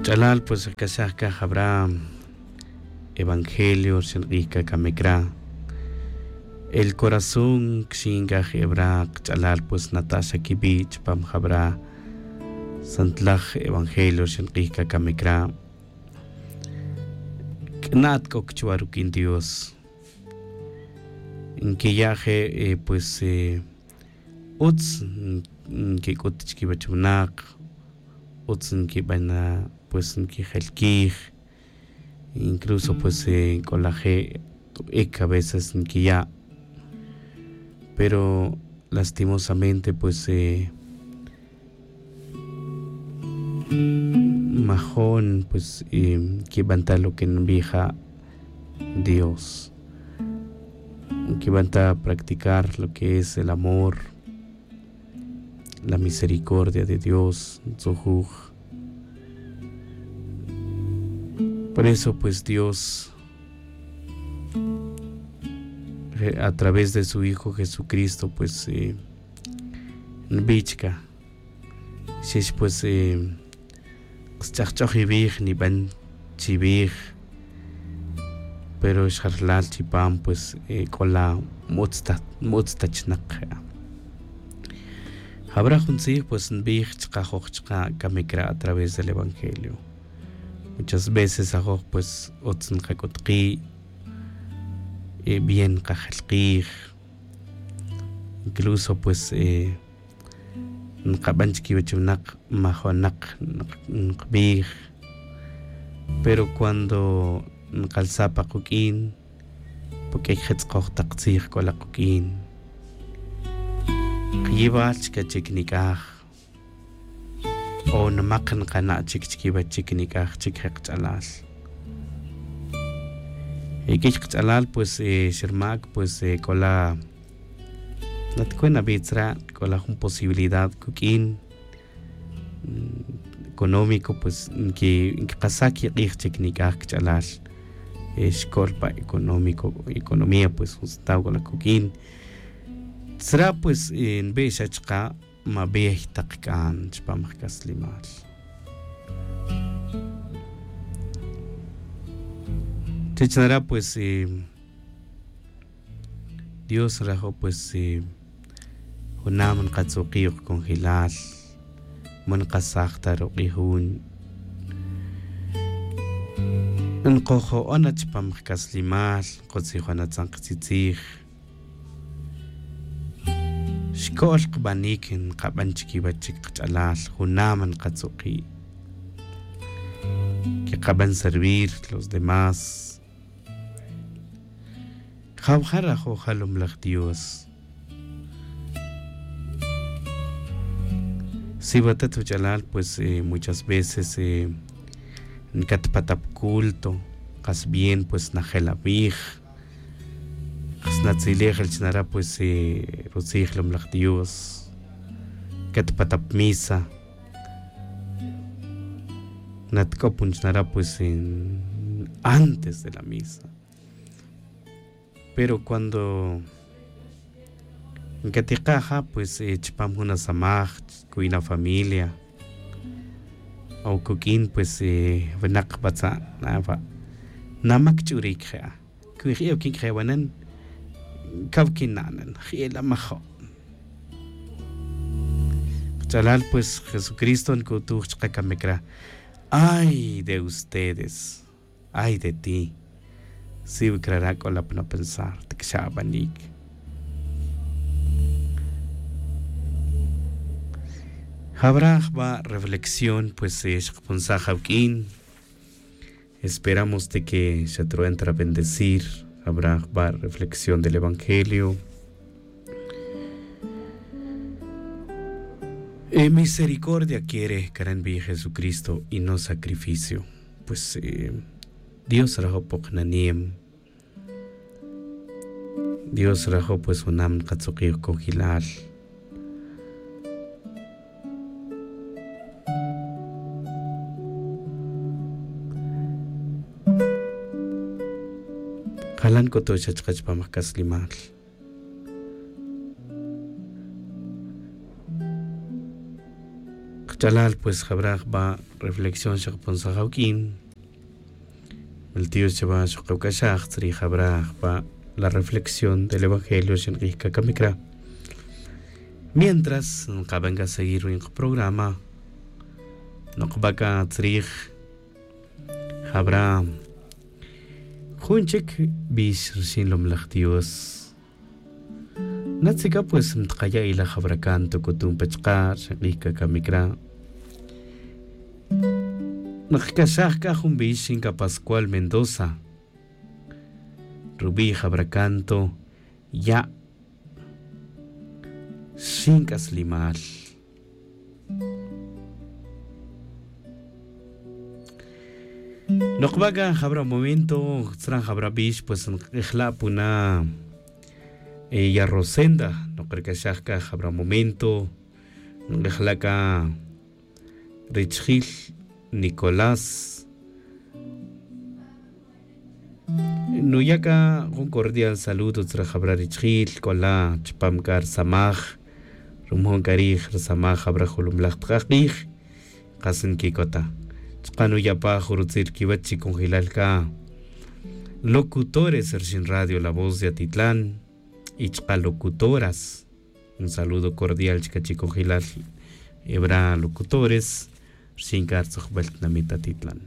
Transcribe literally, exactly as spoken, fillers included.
Ch'alal pues kacaj c'a jabra evangelio rxin k'ij c'a camic ra. El corazón quixin c'a jebra kach'alal pues nata' xa quibi' chupam jabra santlaj evangelio rxin k'ij c'a camic ra. C'nat c'o chuva ruq'uin dios. Nquiya' je' pues utz nquic'ut chiquiwech winak. Utz nquiban pues nquijelquij. Incluso pues c'o laje' ic a veces nquiya'. Pero lastimosamente pues majon pues quiban ta lo que nbij ja' dios. Quiban ta practicar lo que es el amor, la misericordia de dios ntzujuj. Por eso pues dios a través de su hijo jesucristo pues nbij chica xix pues ksch'ajch'oj iwij niban chiwij. Pero xa rlal chipam pues c'o la m'utz ta m'utz ta chnak. Jabra jun tzij pues nbij chkajoj chka' camic ra a través del evangelio. Muchas veces ajoj pues utz nkac'ut ki' bien nkajelkij. Incluso pues nkaban chiquiwech winak majonak nkbij. Pero cuando nkalsa pa kuq'uin puq'uic je tz'ukoj tak tzij c'o la kuq'uin. Kiyibal chic achic nic'aj o nmak nkana' chic chiquiwech chic nic'aj chic je kach'alal. Iq'uic kach'alal pues xermac pues c'o la nat cue nabi tzra' c'o la jun posibilidad cuq'uin económico pues nquikasa quik'ij chic nic'aj kach'alal. Xcol pa económico economía pues jun sentaw c'o la cuq'uin. Tzra' pues nbi' xa chka' mabey tak c'an chupam jcaslimal. Chich nara' pues dios nrajo' pues junam nkatz'uki' ok conjelal. Ma nkasaj ta ruk'ij jun nkojo'on na chupam jcaslimal nkotzijon atzan katzitzij. Xco'l kbanic nkaban chiquiwech chic kach'alal junam nkatz'uki'. Quekaban servir los demás. Jawja' rajo' jalumlaj dios. Si watat wach'alal pues muchas veces nkatpatap culto kas bien pues najel awij. Kas natzilej el chnara' pues rutzij lumlaj dios. Nkatpatap misa. Natk'opon chnara' pues antes de la misa. Pero cuando nkatika' ja' pues chupam jun asamaj cuwi' na familia o cuq'uin pues winak batza' na wa' namac ch'uric je'a. Cuwi' je'e oquin cawanan caw quina'nan je'e la majo'. Kach'alal pues jesucristo nc'utuj chka camic ra. Ay de ustedes. Ay de ti. Si wi crara' c'o la pa napensar ti cxa abanic. Jawra jba' reflexión pues xkaponsaj awuq'uin. Esperamos ti que xatru'an ta rabendecir. Jawra jba' reflexión del evangelio. Misericordia quiere caran bi jesucristo y no sacrificio. Pues dios rajo' pok nanem. Dios rajo' pues junam nkatz'uki' ok cojilal. Jalan c'utu' xa chka chupam jcaslimal. Ch'alal pues jabra jba' reflexión xakaponsaj awuk'in. Mil dios chaba xokawk'axaj tzrij jabra jba' la reflexión del evangelio xinq'ij kakamik ra. Mientras nqaban ka seguir ruwin qaprograma, noqba ka tzrij jabra jun chik bix rxin lomlaj dios. Natzika pues mtqaya' ilaj jabra canto c'utum pa chka' rxin q'ij kakamik ra'. Nqcaxaj c'a jun bix rxin ca pascual mendoza, rubi' jabra canto ya' rxin c'aslimal. Nokba' c'a jabra momento tzran jabra bix pues nk'ejla' puna ya rosenda. Nokrec'axaj c'a jabra momento nk'ejla' c'a richjil nicolás. Nuya' c'a jun cordial saludo tzra jabra richjil c'ola chupam c'a rsamaj. Rumojon c'a rij rsamaj jabra jolomlaj tk'aj k'ij. Kas nquicota chka' nuya' pa jun rutzil quiwech chi conjelal c'a locutores rxin radio la voz de atitlan y chka' locutoras. Un saludo cordial chka' chi conjelal ebra locutores rxin c'a rtzojbel tinamit atitlan.